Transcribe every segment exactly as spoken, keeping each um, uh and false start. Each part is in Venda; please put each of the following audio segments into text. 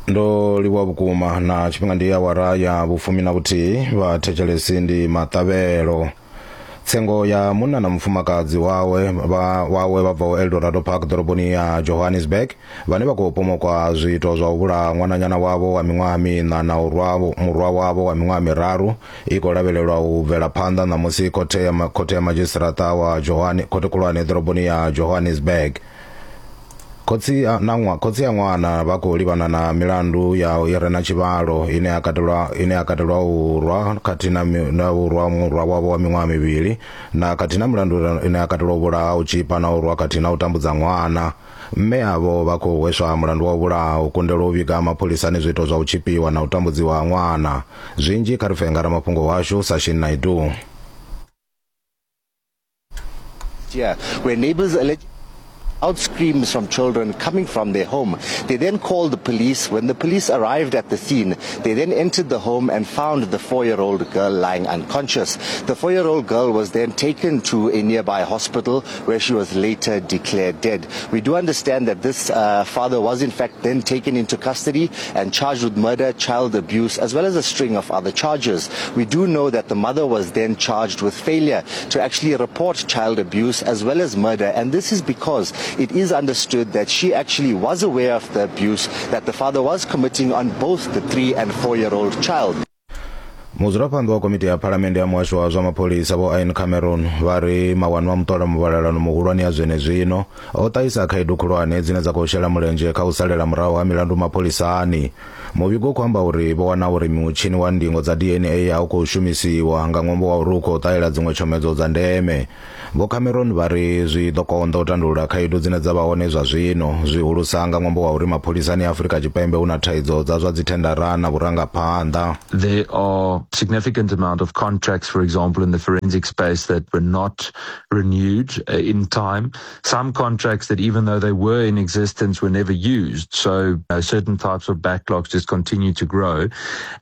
Ndo livhuwa vhukuma na tshifhinga ndi awara ya vhufumi na vhuthihi vha thetshelesi ndi maṱavhelo. Tsengo ya munna na mufumakadzi wawe vha wawe vha bvaho Eldorado Park ḓoroboni ya Johannesburg vhane vha khou pomokwa zwiito zwa u vhulaha ṅwananyana wavho wa miṅwaha miṋa na u rwa murwa wavho wa miṅwaha miraru i khou lavhelelwa u bvela phanḓa ṋamusi khothe ya khothe ya madzhisiṱiraṱa wa Johanne khothe khulwane ḓoroboni ya Johannesburg. Khotsi a na ṅwa khotsi a ṅwana vha khou livhana na milandu ya i re na tshivhalo ine ya katelwa ine ya katelwa u rwa khathihi na na u rwa murwa wavho wa miṅwaha mivhili na khathihi na milandu ine ya katelwa u vhulaha, u tshipa na u rwa khathihi na u tambudza ṅwana. Mme avho vha khou hweswa mulandu wa u vhulaha, u kundelwa u vhiga mapholisani zwiito zwa u tshipiwa na u tambudziwa ha ṅwana. Zwinzhi kha ri pfe nga ramafhungo washu Sashin Naidu. Yeah, where neighbors allege out screams from children coming from their home. They then called the police. When the police arrived at the scene, they then entered the home and found the four-year-old girl lying unconscious. The four-year-old girl was then taken to a nearby hospital where she was later declared dead. We do understand that this uh, father was in fact then taken into custody and charged with murder, child abuse, as well as a string of other charges. We do know that the mother was then charged with failure to actually report child abuse as well as murder, and this is because it is understood that she actually was aware of the abuse that the father was committing on both the three and four-year-old child. Mudzulaphanḓa wa komiti ya phalamennde ya muhasho wa zwa mapholisa vho Ian Cameron vha ri mawanwa a muṱola muvhalelano muhulwane ya zwenezwino o ṱahisa khaedu khulwane dzine dza khou shela mulenzhe kha u salela murahu ha milandu mapholisani. Muvhigo u khou amba uri vho wana uri mutshini wa ndingo dza D N A a u khou shumisiwa nga ṅwambo wa uri u khou ṱahela dziṅwe tshomedzo dza ndeme. Vho Cameron vha ri zwi ḓo konḓa u tandulula khaedu dzine dza vha hone zwa zwino, zwihulusa nga ṅwambo wa uri mapholisani a Afrika Tshipembe hu na thaidzo dza zwa dzithendara na vhurangaphanḓa. There are significant amount of contracts, for example, in the forensic space that were not renewed in time. Some contracts that, even though they were in existence, were never used. So uh, certain types of backlogs just continue to grow.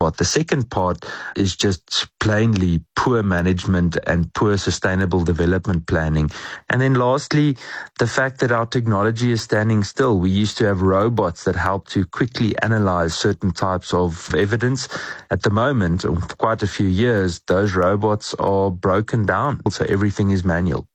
But the second part is just plainly poor management and poor sustainable development planning. And then lastly, the fact that our technology is standing still. We used to have robots that help to quickly analyze certain types of evidence. At the moment, for quite a few years, those robots are broken down, so everything is manual.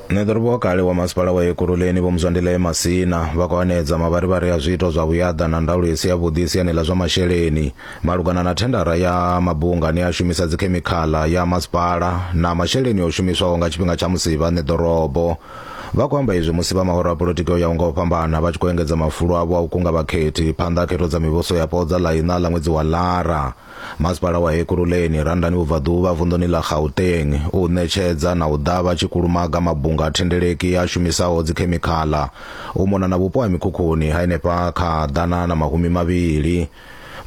Ṋeḓorobo wa kale wa masipala wa Ekurhuleni Vho Mzwandile Masina vha khou hanedza mavharivhari a zwiito zwa vhuyaḓa na ndaulo i si yavhuḓi siani ḽa zwa masheleni malugana na thendara ya mabunga ane a shumisa dzikhemikhala ya masipala na masheleni o shumiswaho nga tshifhinga tsha musi vha ṋeḓorobo. Vha khou amba izwi musi vha mahoro a polotiki o yaho nga u fhambana vha tshi khou engedza mafulo avho a u kunga vhakhethi phanḓa ha khetho dza mivhuso yapo dza ḽa iṋa ḽa ṅwedzi wa Lara. Masipala wa Ekurhuleni Randani vhubvaḓuvha vunḓuni ḽa Gauteng u ṋetshedza na u ḓavha tshikulumaga mabunga a thendeleki a shumisaho dzikhemikhala u mona na vhupo ha mikhukhuni ha henefha kha ḓana na mahumi mavhili.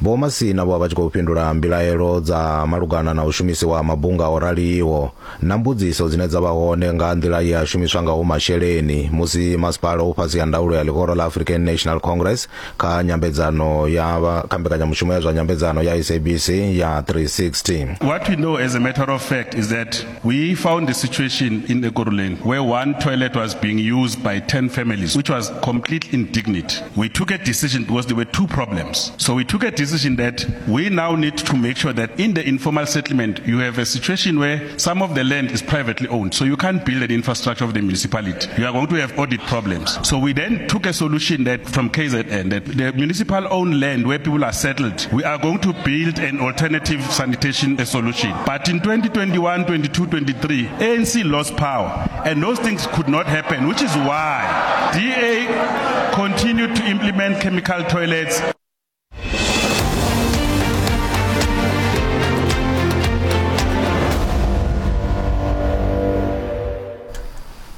Vho Masina vho vha tshi khou fhindula mbilaelo dza malugana na u shumisiwa ha mabunga o raliho na mbudziso dzine dza vha hone nga nḓila ye a shumiswa ngaho masheleni musi masipala u fhasi ha ndaulo ya ḽihoro ḽa African National Congress kha nyambedzano ya kha mbekanyamushumo ya zwa nyambedzano ya S A B C ya three sixty. What we know as a matter of fact is that we found the situation in Ekurhuleni where one toilet was being used by ten families, which was complete indignity. We took a decision because there were two problems. So we took a decision that we now need to make sure that in the informal settlement you have a situation where some of the land is privately owned, so you can't build an infrastructure of the municipality. You are going to have audit problems. So we then took a solution that from K Z N, that the municipal owned land where people are settled, we are going to build an alternative sanitation solution. But in twenty twenty-one, twenty-two, twenty-three, A N C lost power, and those things could not happen, which is why D A continued to implement chemical toilets.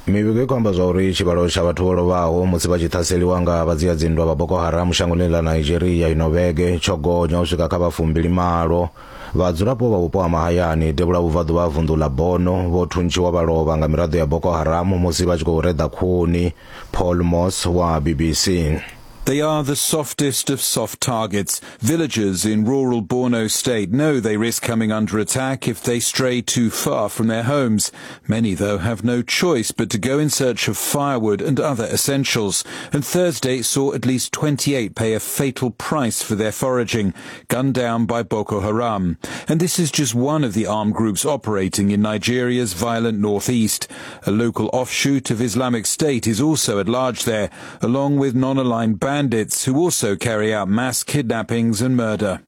Mivhigo i khou amba zwa uri tshivhalo tsha vhathu vho lovhaho musi vha tshi ṱhaseliwa nga vhadzia-dzinndwa vha Boko Haram shangoni ḽa Nigeria ino vhege tsho gonya u swika kha vha fumbili malo. Vhadzulapo vha vhupo ha mahayani devhula vhubvaḓuvha ha vunḓu ḽa Borno vho thuntshiwa vha lovha nga miraḓo ya Boko Haram musi vha tshi khou reḓa khuni. Paul Moss wa B B C. They are the softest of soft targets. Villagers in rural Borno state know they risk coming under attack if they stray too far from their homes. Many, though, have no choice but to go in search of firewood and other essentials. And Thursday saw at least twenty-eight pay a fatal price for their foraging, gunned down by Boko Haram. And this is just one of the armed groups operating in Nigeria's violent northeast. A local offshoot of Islamic State is also at large there, along with non-aligned bandits bandits who also carry out mass kidnappings and murder.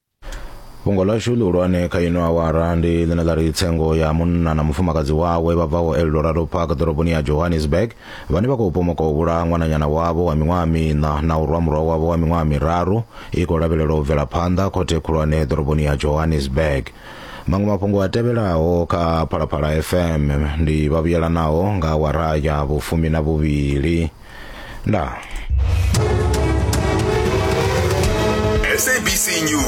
Fhungo ḽashu ḽihulwane kha ino awara ndi ḽine ḽa ri tsengo ya munna na mufumakadzi wawe vha bvaho Eldorado Park ḓoroboni ya Johannesburg vhane vha khou pomoka u vhulaha ṅwananyana wavho wa miṅwaha miṋa na u rwa murwa wavho wa miṅwaha miraru i khou lavhelelwa u bvela phanḓa khothe khulwane ḓoroboni ya Johannesburg. Maṅwe mafhungo a tevhelaho kha Phalaphala F M ndi vha vhuyelanaho nga awara ya vhufumi na vhuvhili. Ndaa. S A B C News.